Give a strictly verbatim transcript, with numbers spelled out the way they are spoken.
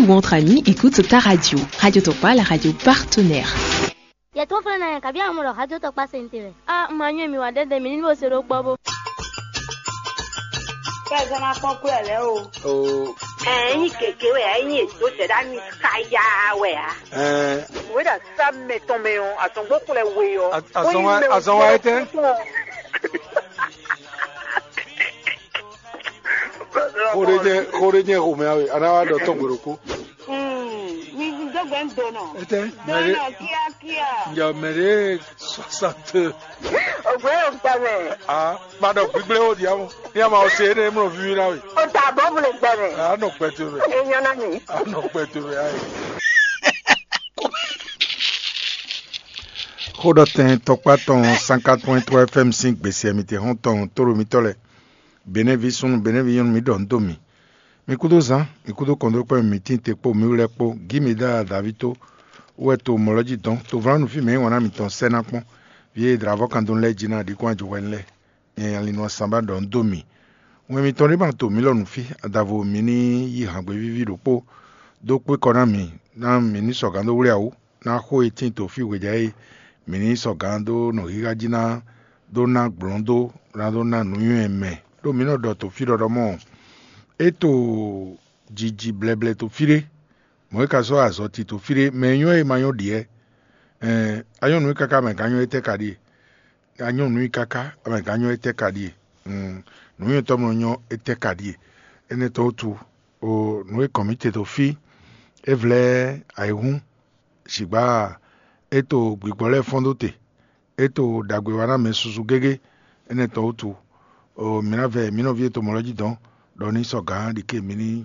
Ou entre amis, écoute ta radio. Radio Tokpa, la radio partenaire. Yɛ tó flɛ́ ná yɛ kabi amɔ ɖɔ xajo tɔkpa se ntewɛ. A ma nyɔ mi wa ɖɛɖɛ mi ní bo se ɖó kpɔ bó. Kɛ zɔn ma kpɔn kú ɛ lɛ o. O. Ɛ nyi keke wɛ ɛ nyi edo sɛ ɖa mi kaya wɛ a. Ɛ. Wɛ ɖa sa mɛ tɔn mɛ ɔ azɔn gbɔ kplɛ we ɔ. Azɔn wa etɛ. Xo ɖé jɛ xo ɖé jɛ xomɛ awe ana wa ɖɔ tɔn gbe ɖokpó. Mi dɔgbɛ ń donɔ. Etɛ mɛ ɖé Donɔ kíákíá. Njɛ mɛ ɖé soixante. Ògbé yóò gbà mẹ́. Ah, ma ɖɔ gbígbé ó di amu. Ní a ma ɔ se énɛ́ mlɔ víví ná we. Ó ta bɔ́bù lè gbà mẹ́. A nɔ gbɛ to mɛ. Èèyàn náà mi. A nɔ gbɛ to mɛ ayi. Xó ɖɔ tɛn tɔkpá tɔn cent quatre point trois F M sín gbèsè mǐtɛn xɔ́ntɔn tóɖo mitɔ́ lɛ́ɛ. Benɛ́ví súnnu, Benɛ́ví nyɔ́nu, mǐ ɖɔ nǔ dó mì. Mi kúdó zán, mi kúdó kɔnɖókpɛ́ mi tíin te kpó mǐwú lɛ́ɛ kpó, gǐ mi dó ala Daví tó, wú wɛ to mɔ̌ lɔ jí dɔn, to vlanu fí mɛ e wǎn ná mitɔn sɛ́ ná kpɔ́n, vǐ e dlǎvɔ́ kan dó lɛ́ɛ jí ná ɖi kɔn ajɔhwɛnu lɛ́ɛ. Nyɛ Linɔ Sanbá ɖɔ nǔ dó mì. Wɛn mitɔn ɖé ma to mǐ lɔ nǔ fí, adavo mǐ ní yí hǎngbévíví ɖokpó dó kpé kɔ ná mǐ, ná mǐ ní sɔgǎn dó wlí awú, ná xó e tíin to fí hwejǎ e mǐ ní sɔgǎn dó nɔ xixa jí ná dó ná gblɔ̌n dó ná dó ná nǔnywɛ́ mɛ. Ɖó mǐ nɔ ɖɔ to fí ɖɔɖɔ mɔ, é to jiji blɛblɛ to fí ɖé, mɔ̌ é ka sɔ́ azɔ̌ tito fí ɖé, mɛ e nyɔ́ e ma nyɔ́ ɖiɛ. Ɛn, a nyɔ́ nǔ e káká mɛ gǎn nyɔ́ étɛ́ ka ɖíe? A nyɔ́ nǔ e káká mɛ gǎn nyɔ́ étɛ́ ka ɖíe? Nǔnywɛ́tɔ́ mlɔ nyɔ́ étɛ́ ka ɖíe? Énɛ́ tɔn wútu, o nǔ e kɔn mǐ te ɖo fí, é vlɛ́ ayǐhún, sǐgbá e to gbigbɔ lɛ́ɛ fɔ́n dó te, e to ɖagbe wa ná mɛ susu gégé. Énɛ́ tɔn wútu, o mǐ ná vɛ mǐ nɔví e to mɔ̌ lɔ jí dɔn, ɖɔ ní sɔgǎn ɖi ké mǐ ní